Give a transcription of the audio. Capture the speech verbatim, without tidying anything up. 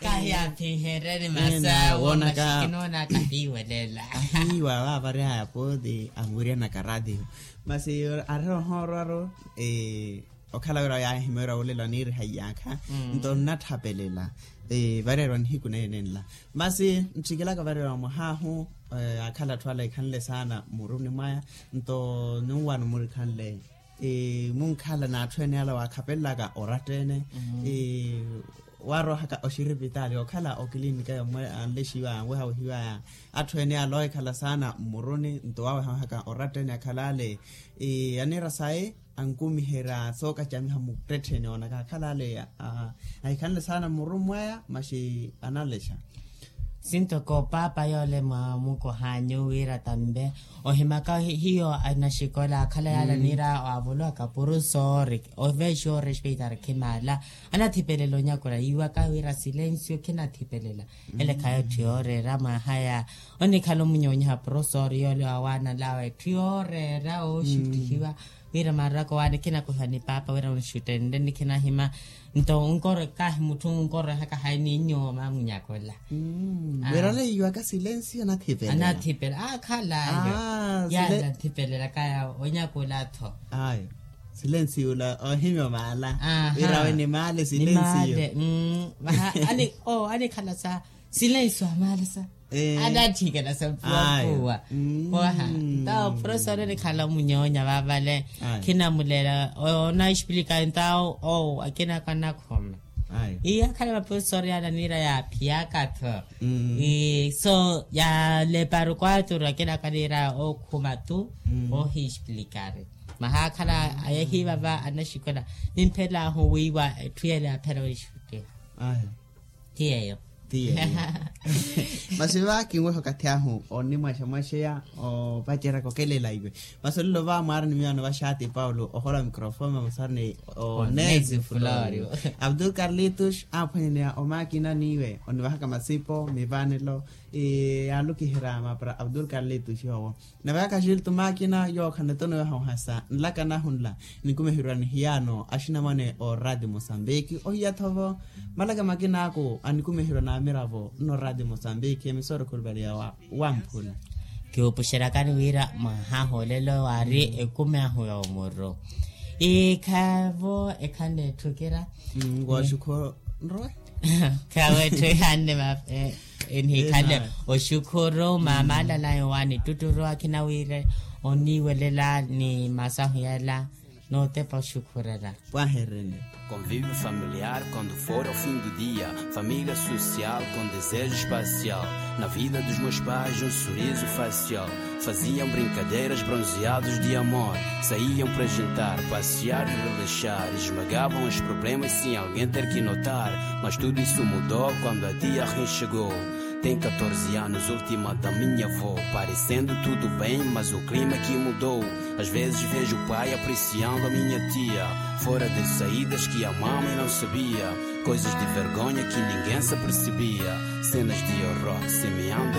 Kahi aphinhereni masawo maxikinoona kahiiwelela. Ahiiwa vaavarihaya pooti amuryanaka ratio. Masi arira ohoorwaru okhala wira yaahimera wulela oniiriha iyaakha. Nto nnathapelela vareerwa nihiku neenenla. Masi ntthikilaka vareerwa mwahaahu akhala atthu ala ekhanle saana mmuruni mwaya. Nto nunwano murikhanle munkhala n'atthu ene ala waakhapelelaka oratta ene. Waarohaka oxiripitaali okhala okilinika yomwe anlexiwaya anwehawehiwaya. Atthu ene ala ohikhala saana mmuruni nto waawehawehaka oratta ene akhala ale aniira saye ankumiherya sookacamiha muttettheni oona kaakhala ale ahikhanle saana mmuruni mwaya maxi analexa. Sinto ko paapa yoole mwa mukohanyu wira tambe ohimaka hiyo anaxikola akhala yaala niira waavolowa kapuru soori oveexiwa orespeitar khimaala. Anathipelela onyakula yiiwaka wira silensio khinathipelela. Ele khayo etthu yooreera mwaahaya onikhala omunyoonyiha profesor yoole wawaanalawe etthu yooreera ooxuttihiwa. Wira maraka owaani khinakuhiwa ni paapa wira onixuttenle nikhinahima. Nto onkoro kahi mutthu onkorehaka hayi ni nyooma munyakola. Wira ole yiiwaka silensio anathipela. Anathipela akhalayo. Yaani anathipelelaka yawo onyakola-tho. Ayo silensio ola ohimya omaala. Wira awe ni maale silensio. Anikhala sa silensio amaala sa. Anatthikela sa mpuwa mpuwa. Mwaha ntawo profesor onikhala omunyoonya vaavale. Khinamulela onaxplika ntawo owo akinaka anakhuma. Iya akhala maprofesor yaala niira yaaphiyaka-tho. So yaleparu kwaturu akinaka niira okhuma tu. Ohisplikari mahaakhala ayehiiva va anaxikola. Nimphelaahu wiiwa etthu yela yaaphela wixuttiha. Ti yeeyo. Ti yeeyo. Masi va kinweha okathi ahu onimwaxamwaxeya opacerya kokelela iwe. Masi olelo va mwaari ni miyo anovaxaati paulo ohola microfone masi ari ni onesi florio. Abdul carlitus aaphwanyaneya omaakina n'iwe onivahaka masipo mivanelo. Yaalukiherya mapara abdul carlitus yoowo. Nave aka axiltu maakina yookhana tonweha ohasa nlaka nahu nla. Nikumeherwa nihiyaano axinamwane oraati mosambiki ohiya-tho vo malaka makinaaku. Anikumeherwa n'amiravo nno oraati mosambiki emisoro khulupaliya wamphula. Kiwupuxeryakani wira mwahahu olelo waari ekumi ahu ya omuru. Ikhavo ekhanle etthu kira. Ngooxukhu nrowe. Khawetthu ihanne mafe. Enihikhanle oxukhuru maamaalalayo waanittutturu akhina wira oniiwelela ni masahu yala. Nootepa oxukhurela. Pwaherene. Convívio familiar quando for ao fim do dia, família social com desejo espacial. Na vida dos meus pais um sorriso facial. Faziam brincadeiras bronzeados de amor. Saíam para jantar, passear e relaxar. Esmagavam os problemas sem alguém ter que notar. Mas tudo isso mudou quando a tia Rin chegou. Tem catorze anos, última da minha avó. Parecendo tudo bem, mas o clima que mudou. Às vezes vejo o pai apreciando a minha tia. Fora das saídas que a mamãe não sabia. Coisas de vergonha que ninguém se apercebia. Cenas de horror semeando a